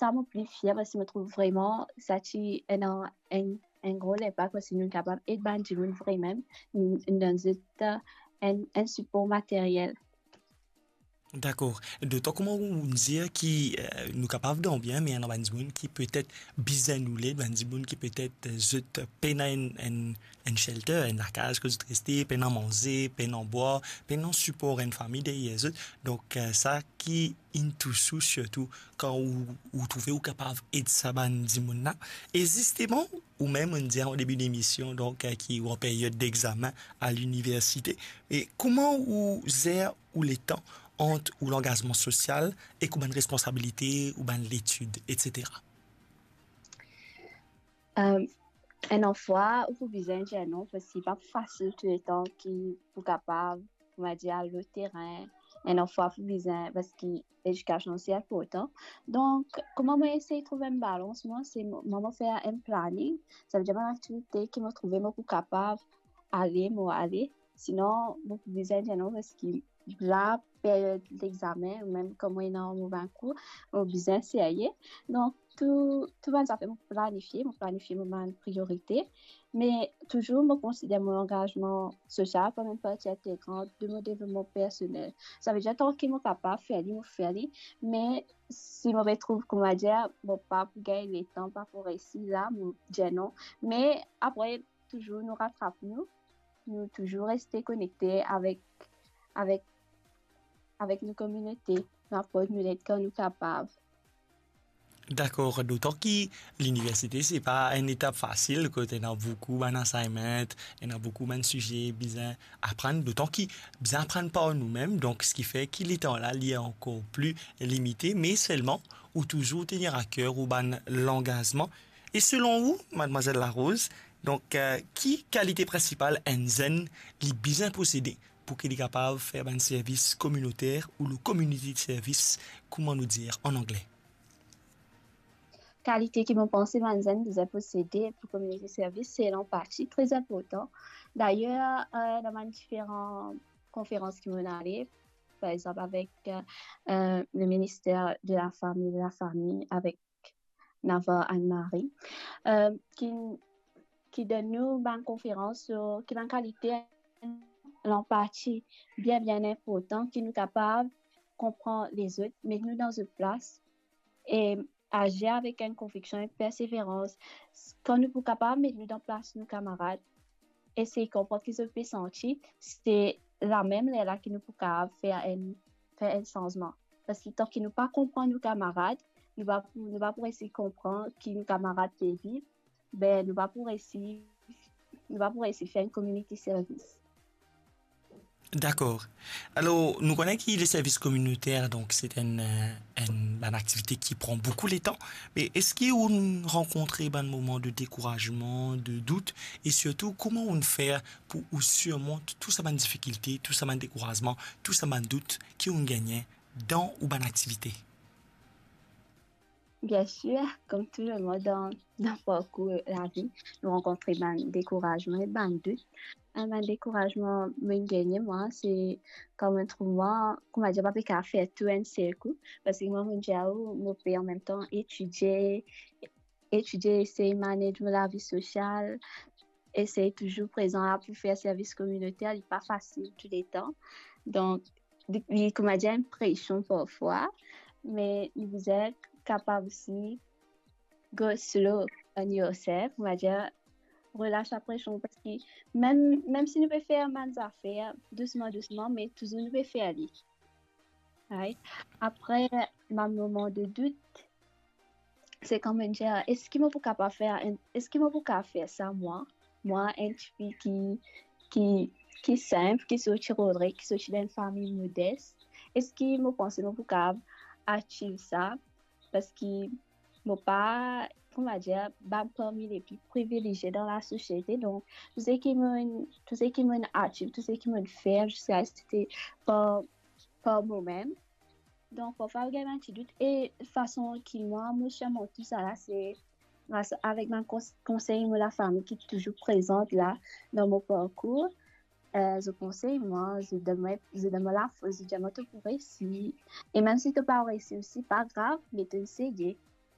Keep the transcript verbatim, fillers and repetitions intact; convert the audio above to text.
sa mo pli fier, parski mo trouv vreman sa ti ena enn, enn gro linpak, parski nou kapav ed bann dimoun vremem, nou, nou donn zot, eh, enn, enn sipor materyel. Dakor. Dotan kouma ou dir ki, eh, nou kapav dan bien, me ena bann dimoun ki petet bizin nou led, bann dimoun ki petet, eh, zot pena enn, enn, enn shelter, enn lakaz kot zot reste, pena manze, pena bwar, pena sipor enn fami deryer zot. Donk, eh, sa ki inn tous ou, sirtou kan ou, ou trouve ou kapav ed sa bann dimoun la. E zisteman, ou mem, ou dir an debi demision, donk, eh, ki ou an peryod dexamen a liniversite. E kouma ou zer ou letan ant ou langazman sosial ek ou bann responsabilite, ou bann letid, etsetera? Eh, enn fwa, ou pou bizin dir non, parski pa fasil touletan ki pou kapav, on va dir, al lor terin. Enn fwa, pou bizin, parski ledikasion osi inportan. Donk, kouma mo esey trouv enn balans, mwa, se mo, mwa mo fer enn planning. Savedir bann aktivite ki mo trouve mo pou kapav ale, mo ale. Sinon, mo pou bizin dir non, parski la, peryod lexamen, mem kan mo ena mo bann kour, mo bizin serye. Donk, tou, tou bann zafer mo planifie, mo planifie mo bann priorite, me touzour mo konsider mo langazman sosial kouma enn parti integran de mo devlopman personel. Savedir, tanki mo kapav fer li, mo fer li, me si mo pe trouv, kouma dir, mo pa pou gagn letan, pa pou resi la, mo dir non. Me apre, touzour nou ratrap nou, nou touzour reste konekte avek, avek, avek nou kominote, nou aport nou led kan nou kapav. Dakor, dotan ki liniversite, se pa enn etap fasil, kot ena boukou bann assignment, ena boukou bann size bizin aprann, dotan ki bizin aprann par noumem, donk, seki fer ki letan la, li ankor pli limite, me selman, ou touzour tenir a ker ou bann langazman. E selon ou, madmwazel Larose, donk, eh, ki kalite prinsipal enn zenn li bizin posede pou ki li kapav fer bann servis kominoter ou le community service, kouma nou dir an angle? Kalite ki mo panse bann zenn bizin posede pou community service, se lanpati, tre inportan. Dayer, eh, dan bann diferan konferans ki mo ale, par exanp, avek, eh, eh, le minister de la fami, de la fami, avek Navarre Anne-Marie, eh, ki, ki donn nou bann konferans, so, ki bann kalite lanpati bien, bien inportan, ki nou kapav konpran lezot, met nou dan zot plas, e azir avek enn konviksion, enn perseverans. Kan nou pou kapav met nou dan plas nou kamarad, esey konpran ki zot pe santi, se lamem lerla ki nou pou kapav fer enn, fer enn sanzman. Parski tanki nou pa konpran nou kamarad, nou pa pou, nou pa pou resi konpran ki nou kamarad pe viv, be, nou pa pou resi, nou pa pou resi fer enn community service. Dakor. Alor, nou kone ki le servis kominoter, donk, se enn, eh, enn, bann aktivite ki pran boukou letan. Me eski ou rankontre bann moman de dekourazman, de dout, e sirtou, kouma ou fer pou ou sirmont tou sa bann difikilte, tou sa bann dekourazman, tou sa bann dout ki ou gagne dan ou bann aktivite? Bien sir, kom tou lemonn dan, dan parkour lavi, nou rankontre bann dekourazman e bann dout. Eh, bann dekourazman mo gagne, mwa, se kan mo trouv mwa, kouma dir, pa pe kapav fer tou enn sel kou, parski mwa, mo dir ou, mo pe anmemtan etidie, etidie, esey manage mo lavi sosial, esey touzour prezan la pou fer servis kominoter, li pa fasil touletan. Donk, li, li, kouma dir, enn presion parfwa, me nou bizin kapav osi go slow on yourself, on va dire, relas sa presion, parski mem, mem si nou pe fer bann zafer dousman, dousman, me touzour nou pe fer li. Right? Apre, bann moman de dout, se kan mo dir, eski mo pou kapav fer enn, eski mo pou kapav fer sa, mwa? Mwa, enn tifi ki, ki, ki sinp, ki sorti Rodrig, ki sorti dan enn fami modes, eski mo panse mo pou kapav achieve sa? Parski mo pa, kouma dir, pa parmi le pli privilezie dan lasosiete. Donk, tou seki mo, tou seki mo achieve, tou seki mo fer, ziska, se te par, par momem. Donk, parfwa, ou gagn bann ti dout. E fason ki mwa, mo sirmont tou sa la, se gras avek bann kons-, konsey mo lafami ki touzour prezan la dan mo parkour. Eh, zot konsey mwa, zot donn mwa, zot donn mwa lafors, zot dir mwa to pou resi. E mem si to pa resi osi, pa grav, me to eseye.